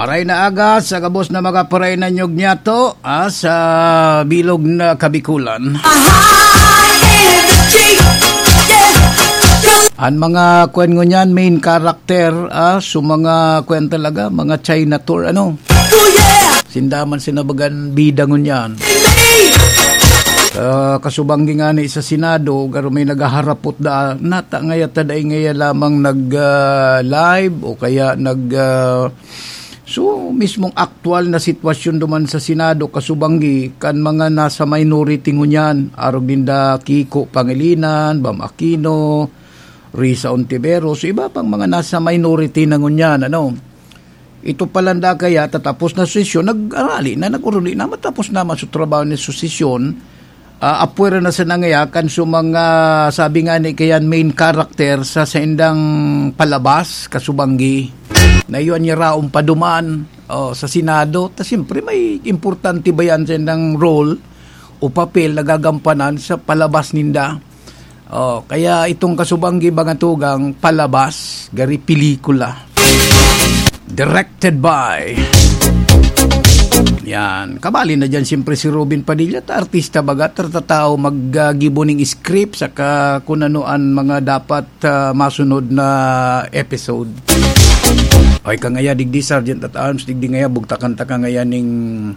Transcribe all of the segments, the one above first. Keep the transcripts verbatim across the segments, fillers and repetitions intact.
Aray na aga sa gabos na mga paray na nyog niyato, ah, sa bilog na Kabikulan. An mga kwan ngunyan, main character, ah, so mga kwan talaga, mga China tour, ano? Sinda man sinabagan bida ngunyan. Ah, kasubanggi ngani sa Senado, garo may naghaharapot da, nata ngaya ta dai ngaya lamang nag, ah, live o kaya nag, ah, so, mismong aktual na sitwasyon duman sa Senado, kasubanggi kan mga nasa minority ngunyan, arog ninda Kiko Pangilinan, Bam Aquino, Risa Ontiveros, iba pang mga nasa minority na ngunyan, ano. Ito palan da kaya tatapos na sesyon, nag-arali na, nag-uruli na, matapos naman sa trabaho ni sesyon, ah, apwera na sa nangayakan sa mga, sabi nga ni kayan, main character sa saindang palabas, kasubanggi, na iyon niya raong paduman, oh, sa Senado. Ta siyempre, may importante ba yan saindang role o papel na gagampanan sa palabas ninda? Oh, kaya itong kasubanggi, mga tugang, palabas, gari pelikula. Directed by. Yan. Kabali na dyan, siyempre, si Robin Padilla. Ta artista baga, ta tataw, maggibo ning script, saka kung ano an mga dapat, ah, masunod na episode. O, ika ngaya, digdi, Sergeant at Arms, digdi ngaya, bugtakan ta ka ngaya ning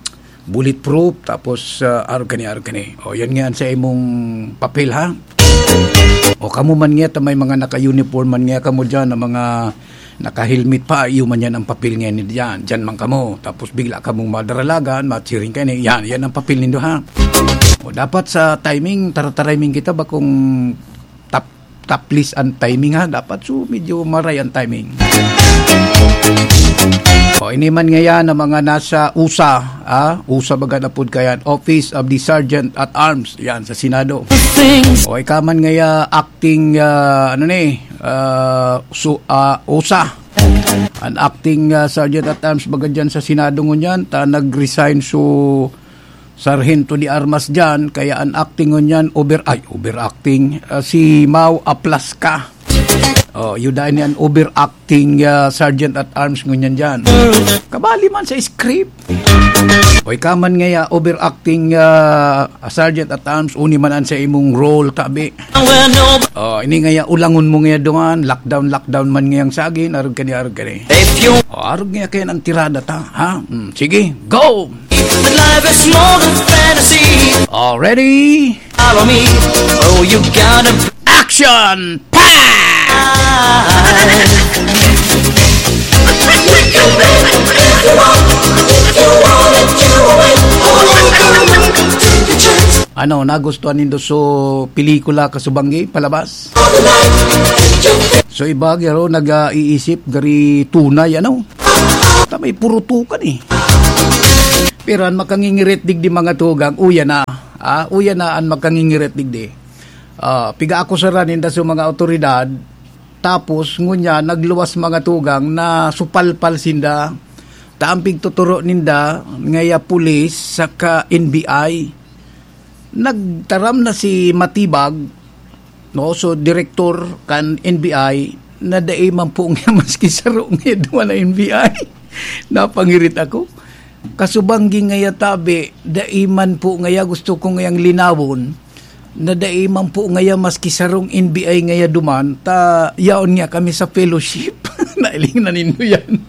bulletproof, tapos, ah, arog kani, arog kani. O, yan nga an sa imong papel, ha? O, kamo man nga, ta may mga naka-uniform man nga kamo dyan, na mga naka-helmet pa, iyo man yan ang papel nga ni dyan. Dyan man kamo. Tapos bigla kamong madaralagan, matsiring kayo, yan, yan ang papel nindo, ha? O, dapat sa timing, tara-tariming kita, bakong tap-, taplis ang timing, ha? Dapat, so, medyo maray ang timing. O, ini man ngayan ang mga nasa usa, ah, usa baga na pod kayan, Office of the Sergeant at Arms, yan, sa Senado. O, ika man ngaya acting, ah, ano ni, ah, su-, ah, usa. An acting, ah, Sergeant at Arms baga dyan sa Senado ngunyan, ta nag-resign so Sarhento de Armas dyan, kaya an acting ngunyan, over, ay, overacting, ah, si Mau Aplasca. Oh, yuda ni an overacting, ah, Sergeant at Arms ngunyan dyan. Kabali man sa script. O, ika man ngaya, overacting, ah, Sergeant at Arms, uni man an sa imong role, tabi. Oh, ini ngaya, ulangon mo ngaya duman, lockdown, lockdown man ngayang sagin, arog kani, arog kani. If you Oh, arog ngaya kayan ang tirada ta, ha? Hmm, sige, go! That life is more than fantasy. Already? Follow me. Oh, you gotta Action! Pa! Ano, nagustuhan nindo so pelikula, kasubanggi, palabas? So iba, garo, nag-iisip, gari tunay, ano? Ta may purutukan, eh. Pero an makangingirit digdi, mga tugang, uya na. Ah, uya na an makangingirit digdi. Ah, piga-akusaran ninda sa mga awtoridad, tapos ngunyan nagluwas, mga tugang, na supalpal sinda. Ta an pigtuturo ninda, ngaya pulis saka N B I. Nagtaram na si Matibag, no, so direktor kan N B I, na dai man po nga maski saro nga duman na N B I. Napangirit ako. Kasubanggi ngaya tabi, dai man po ngaya gusto ko ngayang linawon, na dai man po ngaya maski sarong N B I ngaya duman, ta yaon nga kami sa fellowship. Nailing na nindo yan.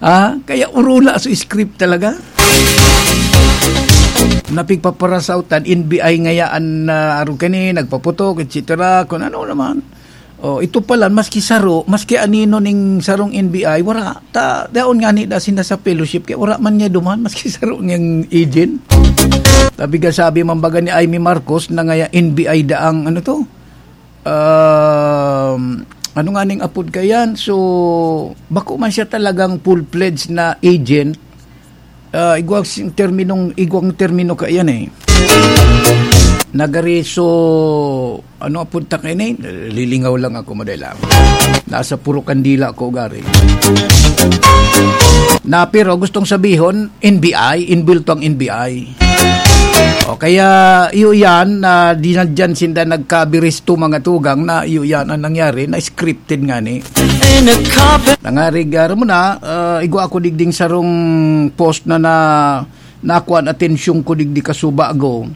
Ha? Kaya urula so script talaga. Napigpaparasautan, N B I ngaya an, ah, arog kani, nagpaputok, et cetera. Kung ano naman. Oh, ito pala, maski saro, maski anino ning sarong N B I, wala. Ta, daon nga ni da sinda sa fellowship, kaya wala man niya duman, maski saro niyang agent. Sabi ka, sabi man baga ni Imee Marcos na ngaya N B I daang, ano to? Um, ano nga ning apod kayan? So, bako man siya talagang full-fledged na agent, ah, igwang sing terminong, igwang termino ka yan eh. Nagari, so, ano, punta kayo na yun? Lilingaw lang ako, madali lang. Nasa puro kandila ako, gari. Na, pero gustong sabihon, N B I, inbulto ang N B I. O kaya, iyo yan, na dinadyan sinda nagkabiristo mga tugang na iyo yan ang nangyari, na scripted nga ni. In a carpet. Nangarig, ah, mo na, ah, igwa ako digding sarong post na, na nakuan atensyon ko digdi kasubago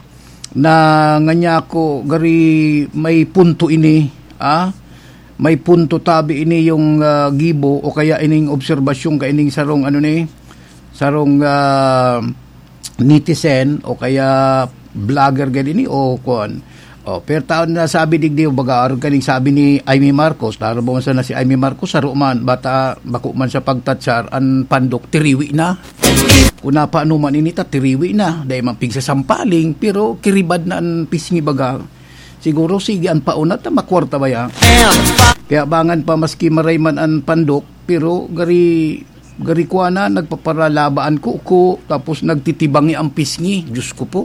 na nganya ko gari may punto ini, ah? May punto tabi ini yung, ah, gibo o kaya ining obserbasyon ka ining sarong ano ni, sarong, ah, netizen o kaya vlogger gani ni o kuan. O, pero taon na sabi digdi, baga, arog kaning sabi ni Imee Marcos, taro mo sana si Imee Marcos, saro man, bata, bako man siya pagtatsar, an pandok, tiriwi na. Kung napaano man ini ta, tiriwi na. Dahil man pigsasampaling, pero kiribad na an pisngi baga. Siguro, sige, an paunat na makwarta ba ya? Kaya bangan pa, maski maray man an pandok, pero gari, gari ko na, nagpaparalaba an kuko, tapos nagtitibangi ang pisngi. Diyos ko po.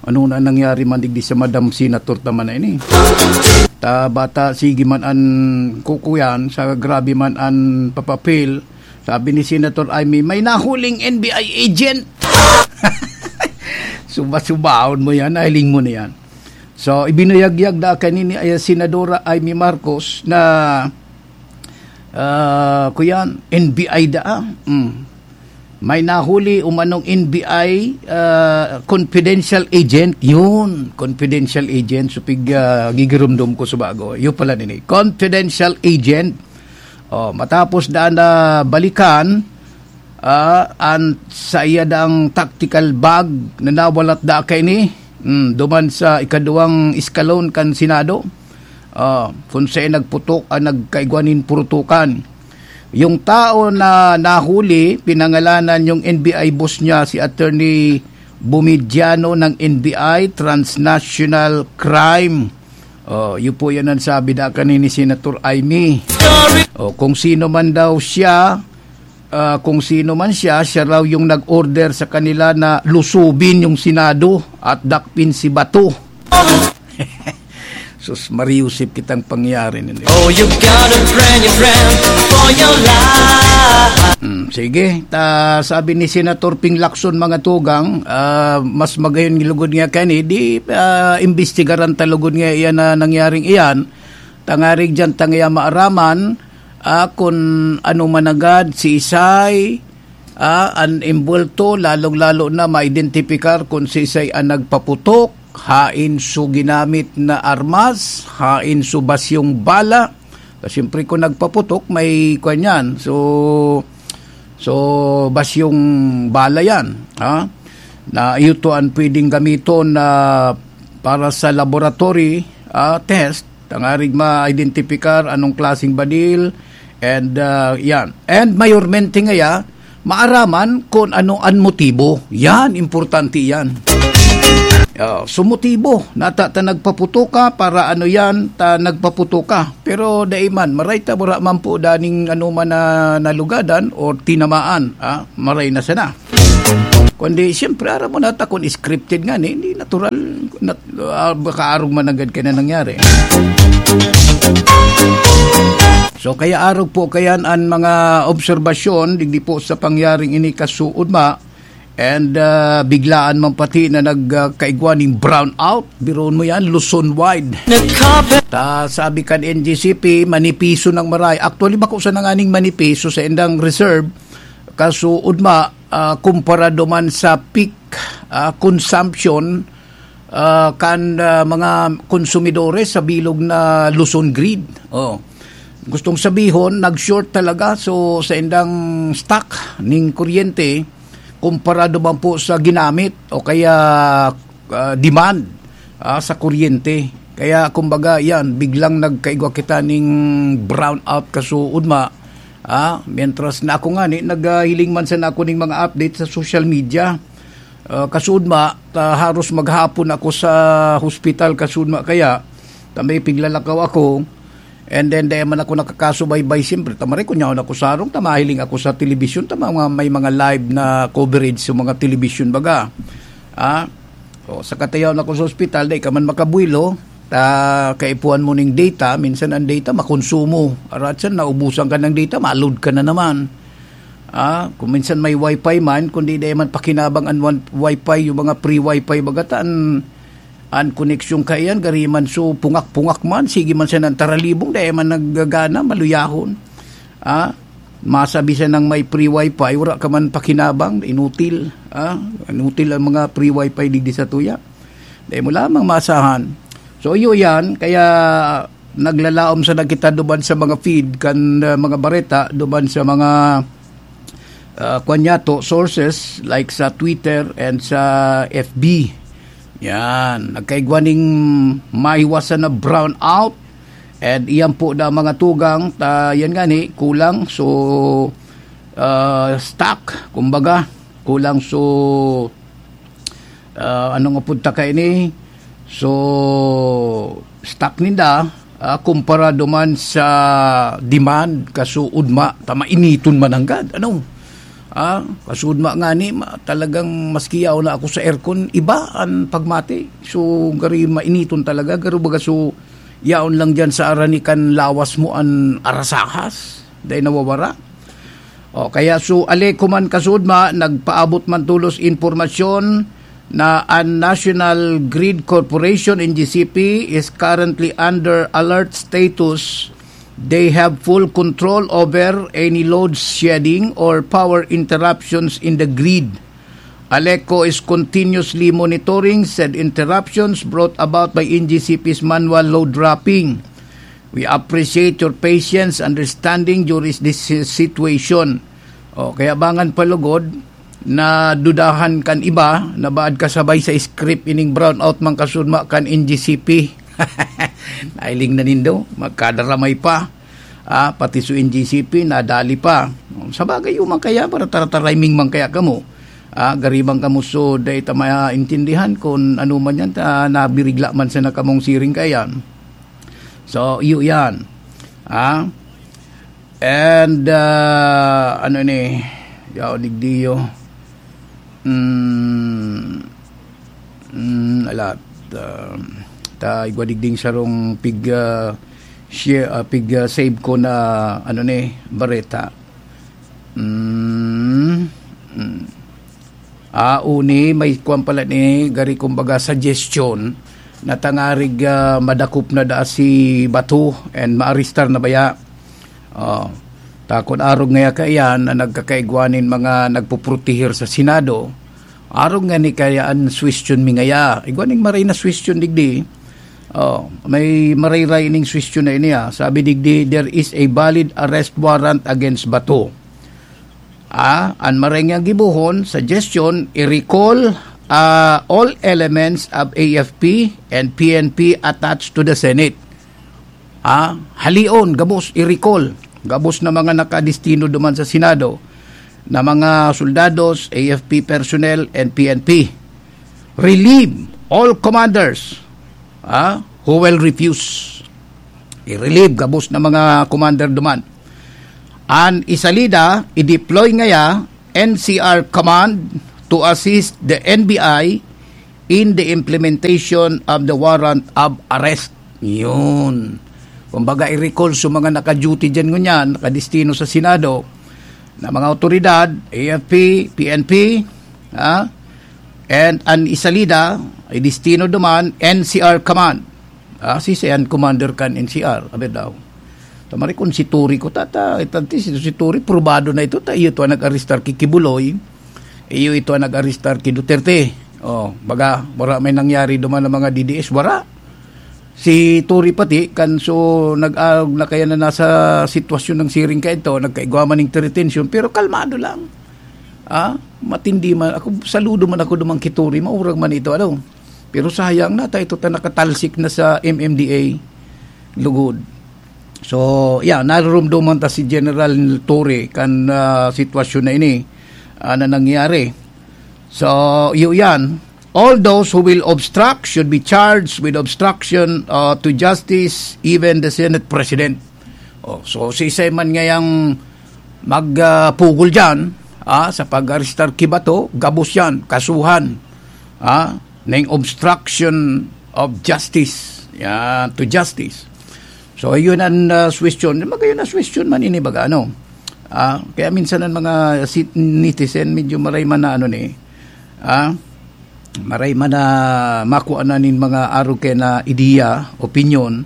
Ano na nangyari man digdi sa Madam Senator ta man na ini? Ta bata, sige man an kuko yan, sa grabe man an papapil. Sabi ni Senator Imee, "May nahuling N B I agent." Suba-subaon mo yan, nahiling mo na yan. So, ibinuyagyag da kanini ay Senadora Imee Marcos na, ah, kuyan, N B I da, ah. Mm. May nahuli umanong N B I, ah, confidential agent. Yun, confidential agent. So, pig, ah, gigirumdom ko sa bago. Yun pala nini. Confidential agent. Oh, matapos daan na balikan, ah, an saiya dang tactical bag na nawalat da kaini, mm, duman sa ikaduwang eskalon kan Senado. Ah, kun saen nagputok an nagkaigwa nin purutukan. Yung tao na nahuli, pinangalanan yung N B I boss niya, si Attorney Bumidiano ng N B I, transnational crime. Oh, yun po yan ang sabi da kanin ni Senator Imee. Oh, kung sino man daw siya, ah, kung sino man siya, siya raw yung nag-order sa kanila na lusubin yung Senado at dakpin si Bato. Sus, mariusip kitang pangyari nini. Oh, you got a brand new friend for your life. Hmm, sige, ta, sabi ni Senator Ping Lacson, mga tugang, ah, mas magayon lugod nga kani, di, ah, imbestigaran ta lugod nga iyan na nangyaring iyan, tangarig diyan tangaya maaraman, ah, kun ano managad si isay, ah, an imbwelto, lalong-lalo na maidentipikar kun siisay an nagpaputok, haen so ginamit na armas, haen so basyong bala. Ta siyempre, kun nagpaputok, may kwan yan. So, so, basyong bala yan, ha? Na iyo to ang pwedeng gamiton na para sa laboratory, ah, test, tangarig ma-identify anong klaseng badil, and, ah, yan. And mayormente ngaya, maaraman kung ano an motibo. Yan, importante yan. Ah, so motibo, nata ta nagpaputok ka, para ano yan, ta nagpaputok ka. Pero dai man, maray ta, wala man po daning ano man na nalugadan o tinamaan, ah, maray na sana. Kundi, siyempre, aram mo na ta kung scripted nga, ni, hindi natural, nat-, ah, baka arog man agad kaya na nangyari. So, kaya arog po kayan an mga obserbasyon, digdi po sa pangyaring ini kasuod ma, and, ah, biglaan man pati na nag, ah, kaigwa ning brownout, biruon mo yan, Luzon wide. Ta, sabi kan N G C P, manipiso ng maray. Actually, bako sa nanganing manipiso sa indang reserve, kasuod ma, ah, kumpara duman sa peak, ah, consumption, ah, kan, ah, mga konsumidores sa bilog na Luzon grid. Oh. Gustong sabihon, nag-short talaga. So, sa indang stock ning kuryente, kumpara duman po sa ginamit o kaya, ah, demand, ah, sa kuryente. Kaya, kumbaga, yan, biglang nagkaigwa kita ning brownout kasuod ma. Ah, mientras na ako nga ni, naghiling man sana ako ning mga update sa social media. Ah, kasuod ma, ta haros maghapon ako sa hospital, kasuod ma kaya, ta may piglalakaw ako. And then, dai man ako nakakasubaybay, siyempre, ta maray kun yaon ako sa arog, ta mahiling ako sa telebisyon, ta mga, may mga live na coverage sa mga telebisyon, baga. Ah, o, sa katayaw na ko sa ospital, dai ka man makabuelo, ta kaipuhan mo ning data, minsan ang data makonsumo. Arat siya, naubusan ka ng data, ma-load ka na naman. Ah, kung minsan may wifi man, kundi di man pakinabang an wan-, wifi, yung mga free wifi, baga ta an, an koneksyon kaiyan, gari man so pungak-pungak man, sige man siya ng taralibong, di man naggagana, maluyahon. Ah, masabi siya ng may free wifi, wala ka man pakinabang, inutil. Ah, inutil ang mga free wifi digdi sa tuya. Di mo lamang maasahan. So, iyo yan. Kaya naglalaom sana kita duman sa mga feed kan, uh, mga bareta, duman sa mga, uh, kwan niya to, sources like sa Twitter and sa F B. Yan. Nagkaigwa ning maiwasan na brownout. And iyan po na mga tugang, ta, yan nga ni, kulang. So, uh, stock, kumbaga, kulang. So, ah, ano nga punta kaini? So, stock ninda, ah, kumpara duman sa demand, kasuod ma, ta mainiton man nanggad. Ano? Ah, kasuod ma nga ni, ma, talagang maski yaon na ako sa aircon, iba ang pagmati. So, gari mainiton talaga, garo baga so, yaon lang dyan sa arani kan lawas mo an arasahas, dahil nawawara. O, kaya so, Aleco man kasudma, nagpaabot man tulos impormasyon na an National Grid Corporation, N G C P, is currently under alert status. They have full control over any load shedding or power interruptions in the grid. Aleco is continuously monitoring said interruptions brought about by N G C P's manual load dropping. We appreciate your patience, understanding during this si-, situation. O, kaya bangan palugod na dudahan kan iba na baad kasabay sa script ining brownout man kasudma kan N G C P. Nailing na nindo, magkadaramay pa. Ah, pati su N G C P, nadali pa. Sa bagay, yung man kaya, para taratariming man kaya kamo. Ah, gari man kamo so, dai ta maintindihan kung ano man yan, ta, nabirigla man sana kamong siring kaya. So, iyo yan. Ah? And, ah, ano ni? Yao, digdiyo. Hmm. Hmm, alat. Ah, ta, igwa digding sarong pig, ah, share, ah, pig, ah, save ko na, ano ni, bareta. Hmm. Hmm. Ah, uni, may kwan pala ni, gari kumbaga suggestion na tangarig, ah, madakop na daa si Bato and maarestar na baya. Oh, takon arog ngaya kaiyan na nagkakaigwa nin mga nagpuprotehir sa Senado. Arog nga ni kaya an suwestiyon mi ngaya. Igwa ning maray na suwestiyon digdi. Oh, may marayray ning suwestiyon na ini, ah. Sabi digdi, "There is a valid arrest warrant against Bato." Ah, an maray nga gibohon, suggestion, i-recall, ah, all elements of A F P and P N P attached to the Senate. Ah, halion, gabos, i-recall. Gabos na mga nakadestino duman sa Senado na mga soldados, A F P personnel, and P N P. Relieve all commanders, ah, who will refuse. I-relieve gabos na mga commander duman. An isalida, i-deploy ngaya N C R Command to assist the N B I in the implementation of the warrant of arrest. Yun. Kumbaga, i-recall sa mga naka-duty dyan ngunyan, nakadestino sa Senado, na mga otoridad, A F P, P N P, ha? And an isalida, i-destino duman, N C R Command. Ah, si Sian Commander kan N C R, abi daw. Tamari kun si Turi ko, tata, ito, si, si Turi, probado na ito, ta iyo ito ang nag-arestar ki Kibuloy, iyo ito ang nag-arestar ki Duterte. Oh, baga, wala may nangyari duman ng mga D D S, wala. Si Turi pati, kan so, nag-, ah, na kaya na nasa sitwasyon ng siring ka ito, nagkaigwa man ng retention, pero kalmado lang. Ah, matindi man. Ako, saludo man ako duman ki Turi, maurag man ito, ano. Pero sayang na, ta ito ta nakatalsik na sa M M D A. Lugod. So, yeah, narurumduman ta si General Torre kan, ah, sitwasyon na ini, ah, na nangyari. So, iyo yan. All those who will obstruct should be charged with obstruction, ah, to justice, even the Senate President. Oh, so, si Simon ngayang mag, ah, pugol dyan, ah, sa pag-arestar ki Bato, gabos yan, kasuhan, ah, ng obstruction of justice. Yan, to justice. So, yun ang, ah, suwestyon. Magayon na suwestyon man ini, baga, ano? Ah, kaya minsan ang mga si-, netizen medyo maray man na ano ni, ah, maray man na makuha na nin mga arog kaya na ideya, opinyon,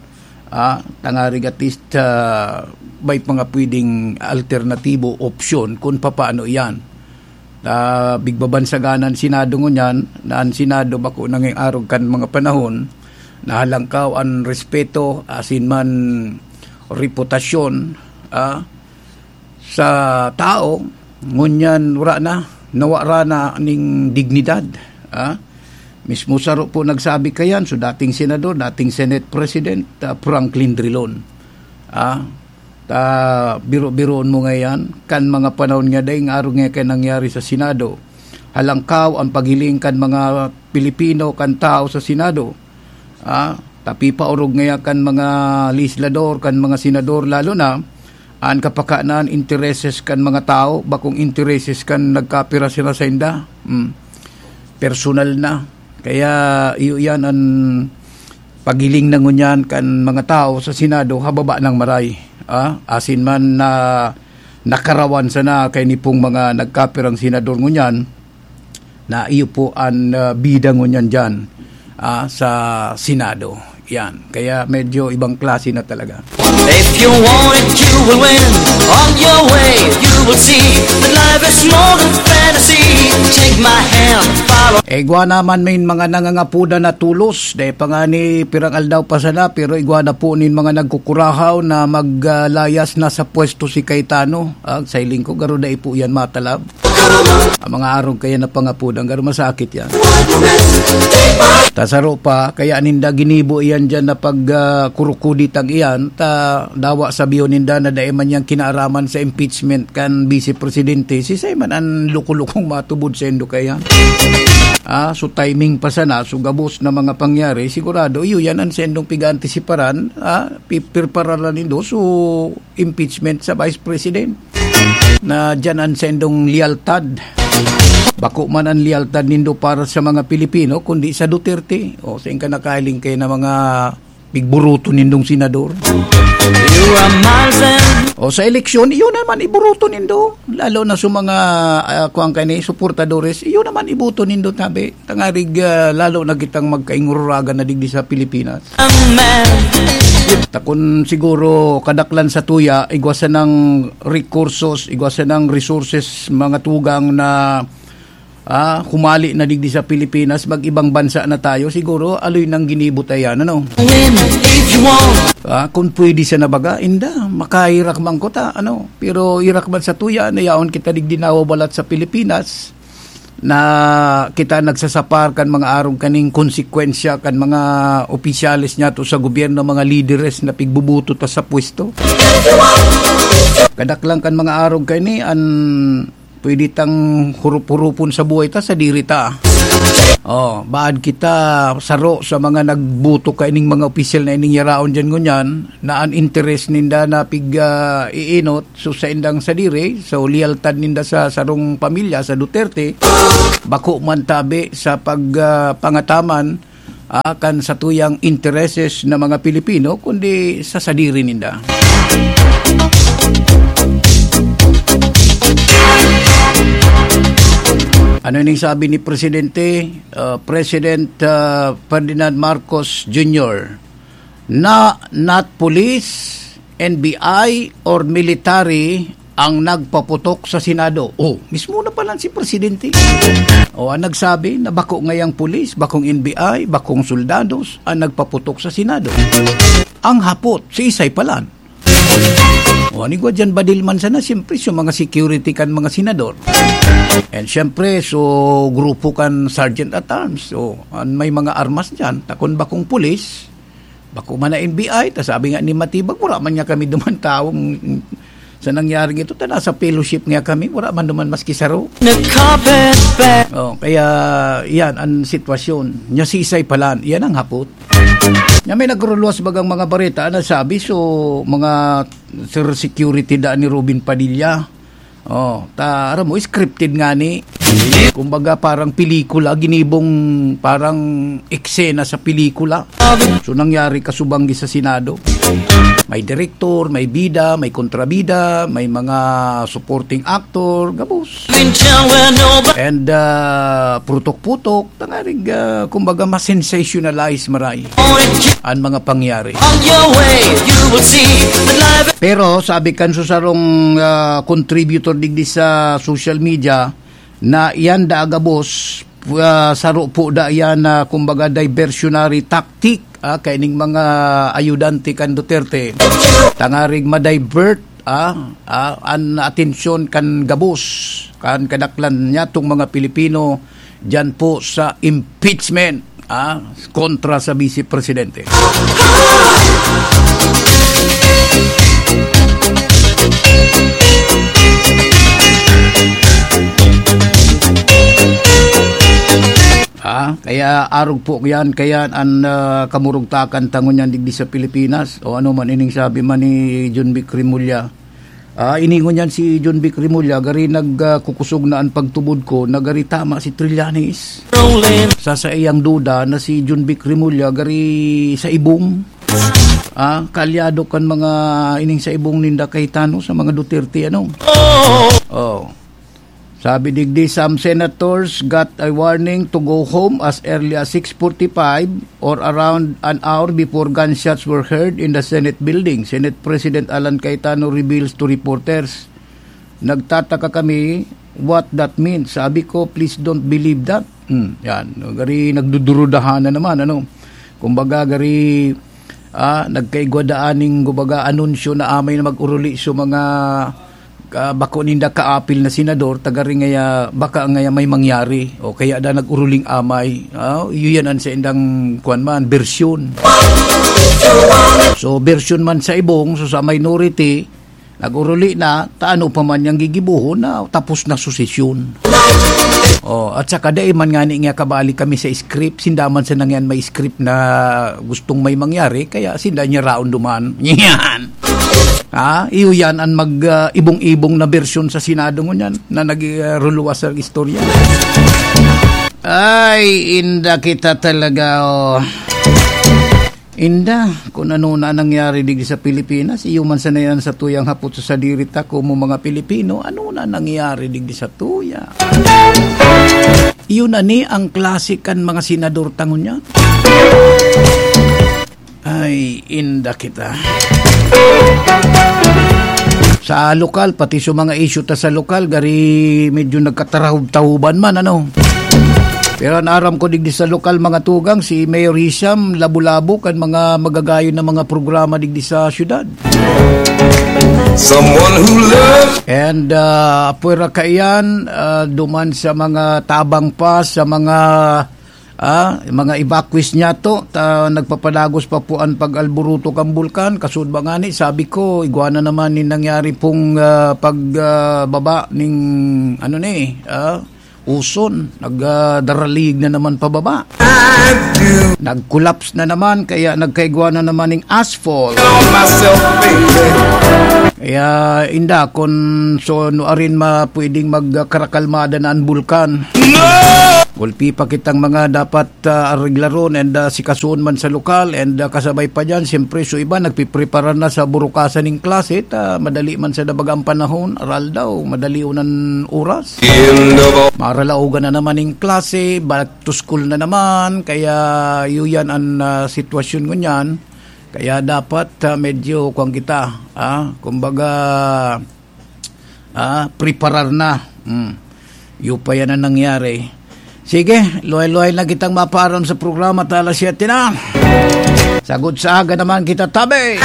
ah, tangarig at least, ah, may mga pwedeng alternatibo, opsyon kung papaano iyan. Ah, bigbabansaganan Senado ngunyan, na ang Senado bako nanging arog kan mga panahon, nahalangkaw an respeto, asin man reputasyon, ah, sa tao, ngunyan wala na, nawara na ning dignidad, ah. Mismo saro po nagsabi kayan, so dating senador, dating Senate President, ah, Franklin Drilon. Ah, ta, biro-biroon mo ngayan, kan mga panahon nga dai nga arog nga kaya nangyari sa Senado. Halangkaw ang paghiling kan mga Pilipino, kan tao sa Senado. Ah, tapi paorog ngaya kan mga legislador, kan mga senador, lalo na an kapakanan, intereses kan mga tao, bakong intereses kan nagkapira sila sa inda. Hmm. Personal na. Kaya iyo yan an paghiling na ngunyan kan mga tao sa Senado, hababa ng maray. Ah, asin man na nakarawan sana kay ni pong mga nagkapirang senador ngunyan, na iyo po an, ah, bida ngunyan diyan, ah, sa Senado. Yan. Kaya medyo ibang klase na talaga. If you want it, you will win. On your way, you will see that life is more than fantasy. Take my hand, follow. Igwa naman may mga nangangapuda na tulos. Dahil pa nga ni pirang aldaw pa sana, pero igwa na po nin mga nagkukurahaw na maglayas na sa pwesto si Cayetano. Ah, sa hiling ko, garo dai po yan matalab. Ang mga arog kaya na pangapod, ang garo masakit yan. Ta saro pa, kaya ninda ginibo iyan dyan na pag, ah, kurukuditang iyan, ta dawa sabihon ninda na dai man yang kinaaraman sa impeachment kan Vice Presidente, si Simon ang lukulukong matubod sa indo kaya. Ah, so timing pa sana, so gabos na mga pangyari, sigurado, iyo yan ang sendong piga-antisiparan, ah, pipirpararan nindo, so impeachment sa Vice President. Na diyan ang sendong lealtad. Bako man ang lealtad nindo para sa mga Pilipino, kundi sa Duterte. O, sa inka nakahiling kayo na mga pigburuto nindong senador. You are miles and O sa eleksyon, iyo naman iburuto nindo. Lalo na sa mga, ah, kuwan ka ni, suportadores, iyo naman ibuto nindo, tabi. Tangarig, ah, lalo na kitang magkaingururagan na digdi sa Pilipinas. Takon siguro kadaklan sa tuya, igwa sanang rekursos, igwa sanang resources, mga tugang na, ah, humali na digdi sa Pilipinas, mag-ibang bansa na tayo, siguro aloy nang ginibo tayan, ano? Win if you want. Ah, kung pwede siya na baga, inda, makahirak man ko ta, ano? Pero hirak man sa tuya, na yaon kita digdi nawawalat sa Pilipinas, na kita nagsasapar kan mga arog kaning konsekwensya kan mga opisyales niya to sa gobyerno, mga lideres na pigbubuto ta sa pwesto. Kadaklan kan mga arog kani an pwede tang hurup-hurupon sa buhay ta, sa diri ta. Oh, baad kita saro sa mga nagbuto kaining mga opisyal na ining yaraon diyan ngunyan, na an interes ninda na pig, ah, iinot, so sa indang sadiri, so lealtad ninda sa sarong pamilya, sa Duterte, bako man tabi sa pag, ah, pangataman, ah, kan satuyang intereses na mga Pilipino, kundi sa sadiri ninda. Ano ning sabi ni Presidente, ah, President, ah, Ferdinand Marcos Junior? Na not police, N B I, or military ang nagpaputok sa Senado. Oh, mismo na pala si Presidente. O, ang nagsabi na bako ngayang pulis, bakong N B I, bakong soldados ang nagpaputok sa Senado. Ang hapot, si Isay palan. O, anigwa dyan, badil man sana, siyempre, so mga security kan mga senador. And siyempre, so grupo kan sergeant at arms. So, an may mga armas dyan, takon bakong pulis, bako man na N B I, ta sabi nga ni Matibag, wala man niya kami duman taong sa nangyaring ito, ta nasa fellowship nga kami, wala man duman maski saro. Nagkapit pa. Oh, kaya yan ang sitwasyon. Nya si Isay palan, yan ang hapot. Nya may nagruluwas bagang mga bareta na sabi, so mga sir security da ni Robin Padilla. Oh, ta, aram mo, scripted nga ni. Kumbaga, parang pelikula, ginibong parang eksena sa pelikula. So, nangyari kasubanggi sa Senado. May direktor, may bida, may kontrabida, may mga supporting actor, gabos. And, ah, putok-putok, tangarig, ah, kumbaga, masensationalize maray an mga pangyari. Pero sabi kan susarong, ah, contributor digdi sa social media, na iyan da gabos, ah, saro po da iyan na, kumbaga, diversionary tactic, ah, kaining mga ayudante kan Duterte. Tangarig ma-divert, ah, ah, an atensyon kan gabos, kan kadaklan niyatong mga Pilipino diyan po sa impeachment, ah, kontra sa Vice Presidente. Ah, kaya arog po yan, kaya an, ah, kamurugtakan ta ngunyan digdi sa Pilipinas, o ano man ining sabi man ni John Vic Remulla. Ah, ini ngunyan si John Vic Remulla, gari nag, ah, kukusog na an pagtubod ko, na gari tama si Trillanes. Sa saiyang duda na si John Vic Remulla, gari sa ibong. Ah, kaalyado kan mga ining sa ibong ninda Cayetano sa mga Duterte, ano? Oh. Sabi digdi, some senators got a warning to go home as early as six forty-five or around an hour before gunshots were heard in the Senate building. Senate President Alan Cayetano reveals to reporters, "Nagtataka kami what that means." Sabi ko, "Please don't believe that." Hmm, yan. Gari nagdudurudahan na naman, ano? Kumbaga, gari, ah, nagkaigwa daan ning, kumbaga, anunsyo na amay na mag-uruli sa mga, ah, bako ninda kaapil na senador, tagari ngaya, baka ngaya may mangyari. O kaya da nag-uruling amay. Ah, iyo yan an sa indang, kuwan man, bersyon. So, bersyon man sa ibong, so sa minority, nag-uruli na, ta ano pa man yang gigibohon na tapos na su sesyon. Oh, at saka dai man ngani nga kabali kami sa script, sinda man sana ngani may script na gustong may mangyari, kaya sinda niya raon duman. Yan. Ha? Iyo yan ang mag, ah, ibong-ibong na bersyon sa Senado ngunyan na nag, ah, ruluwas sa istorya. Ay, inda kita talaga, oh. Inda, kun ano na nangyari digdi sa Pilipinas, iyo man sana yan sa tuyang hapot sa sadiri ta, komo mga Pilipino, ano na nangyari digdi sa tuya? Iyo na ni ang klase kan mga senador ta ngunyan. Ay, inda kita. Sa lokal, pati sa mga issue ta sa lokal, gari medyo nagkatarahob-tahoban man, ano? Pero an aram ko digdi sa lokal, mga tugang, si Mayor Hisham, labo-labo kan mga magagayon na mga programa digdi sa syudad. Someone who loves And, ah, apwera kaiyan, ah, duman sa mga tabang pa, sa mga, ah, mga evacuees niya to, ta, nagpapadagos pa po ang pag-alburuto kan bulkan. Kasud ba ngani, sabi ko, igwa na naman ni nangyari pong, ah, pag, ah, baba ning, ano ni, ah, uson, nag, ah, daralig na naman pababa. Nag-collapse na naman, kaya nagkaigwa na naman ning asphalt. Kaya, inda, kun so, no arin ma-, pwedeng magkarakalmada na ang bulkan. Gulpi pa kitang mga dapat, ah, areglaron and, ah, sikasuon man sa lokal and, ah, kasabay pa dyan, siyempre, so iba nagpiprepara na sa burukasan ning klase, ta madali man sa dabagang panahon, aral daw, madali unan oras. Maralaogan na naman ning klase, back to school na naman, kaya yuyan an, ah, sitwasyon ngunyan. Kaya dapat, ah, medyo kuwan kita, ah, kumbaga, ah, preparar na. Hmm. Iyo pa yan ang nangyari. Sige, luhay-luhay na kitang mapaaram sa programa, ta alas siyete na. Sagod sa aga naman kita, tabi.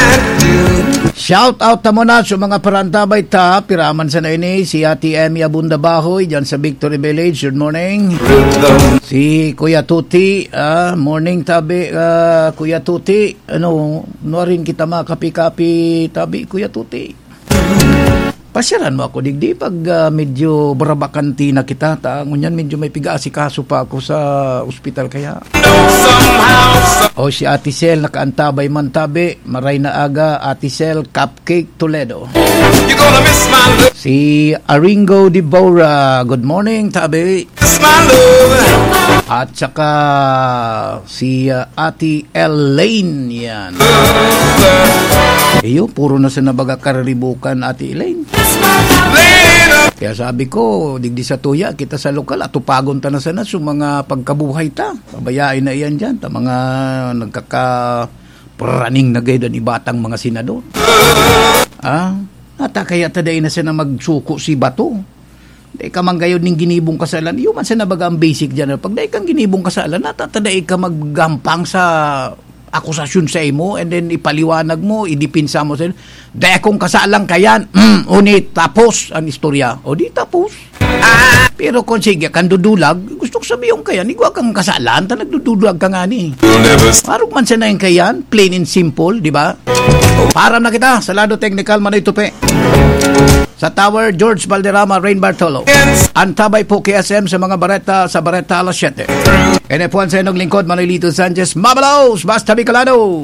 Shout out ta muna sa mga parantabay ta, piraman sa na ini, si Ate Emmy Abunda Bahoy, dyan sa Victory Village, good morning. Si Kuya Tuti, ah, morning, tabi, ah, Kuya Tuti. Ano, nuarin kita makapi-kapi, tabi, Kuya Tuti. Pasyalan mo ako digdi pag, ah, medyo barabakanti na kita. Ta, ngunyan medyo may piga-asikaso pa ako sa ospital kaya. O, si Ate Sel, nakaantabay man tabi. Maray na aga, Ate Sel, Cupcake Toledo. Si Aringo Dibora, good morning, tabi. At saka si, ah, Ate Elaine, yan. Iyo, puro na sa nabaga kariribukan, Ate Elaine. Kaya sabi ko, digdi sa tuya, kita sa lokal, atupagon ta na sana sa mga pagkabuhay ta. Pabayain na iyan dyan, ta mga nagkaka-, praning na gayud an iba tang mga senador. Ah, ata kaya ta dai na sana magsuko si Bato. Dai ka man gayud ning ginibong kasalan. Iyo man sana baga ang basic dyan. Pag dai kang ginibong kasalan, ata ta dai ka maggampang sa akusasyon sa imo and then ipaliwanag mo, idepensa mo sa, "Dai akong kasalan kayan." Mm, unit, tapos ang istorya. O di tapos. Pero kung sige kang dudulag, gusto ko sabihin kayan, igwa kang kasalan, ta nagdudulag ka nga ni. Marog man sana yung kayan, plain and simple, di ba? Para na kita sa lado technical, Manoy Tupi. Sa Tower, George Valderrama, Rain Bartolo. Antabay po, K S M, sa mga bareta, sa bareta, alas siyete. N F one sa inyong lingkod, Manoy Lito Sanchez, Mabalos, Basta Bicolano.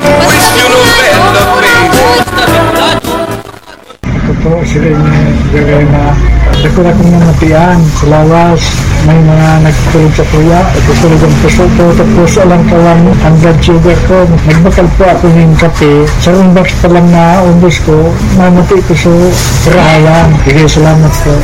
Ako po, sila yung gagawin na dakula kong mga tiyan sa lawas. May mga nagtulog sa kuya, nagtutulog ang puso ko, tapos alang kawan ang blood sugar ko. Nagbakal po ako ng kape. Sa oras pa lang na ubos ko, namati ko sa karahayan. Sige, salamat po.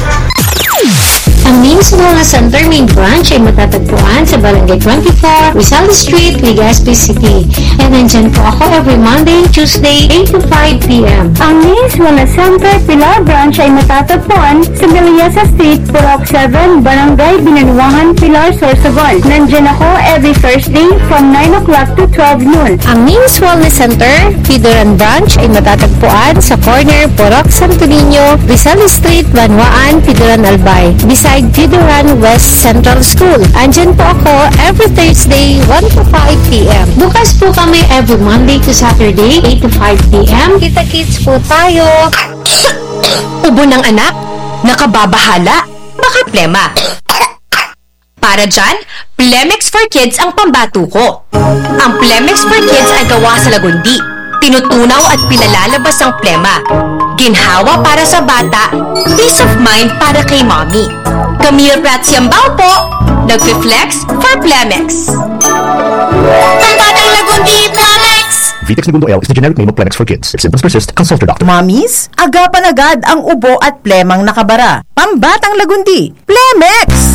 Ang Names Wellness Center main branch ay matatagpuan sa Barangay twenty-four, Rizal Street, Legazpi City. And nandyan po ako every Monday, Tuesday, eight to five p.m. Ang Names Wellness Center Pilar branch ay matatagpuan sa Villasa Street, Purok seven, Barangay Binanuangan, Pilar, Sorsogon. Nandyan ako every Thursday from nine o'clock to twelve noon. Ang Names Wellness Center, Pidoran Branch ay matatagpuan sa corner Purok Santo Niño, Rizal Street, Banwaan, Pidoran, Albay, beside Pidoran West Central School. Andyan po ako every Thursday, one to five p.m. Bukas po kami every Monday to Saturday, eight to five p.m. Kita-kits po tayo. Ubo ng anak? Nakababahala? Baka plema? Para dyan, Plemex for Kids ang pambato ko. Ang Plemex for Kids ay gawa sa lagundi. Tinutunaw at pinalalabas ang plema. Ginhawa para sa bata, peace of mind para kay mommy. Camille Prats Yambao po, nagpi-flex for Plemex. Pambatang lagundi, Plemex! Vitex Negundo L is the generic name of Plemex for Kids. If symptoms persist, consult your doctor. Mommies, agapan agad ang ubo at plemang nakabara. Pambatang lagundi, Plemex!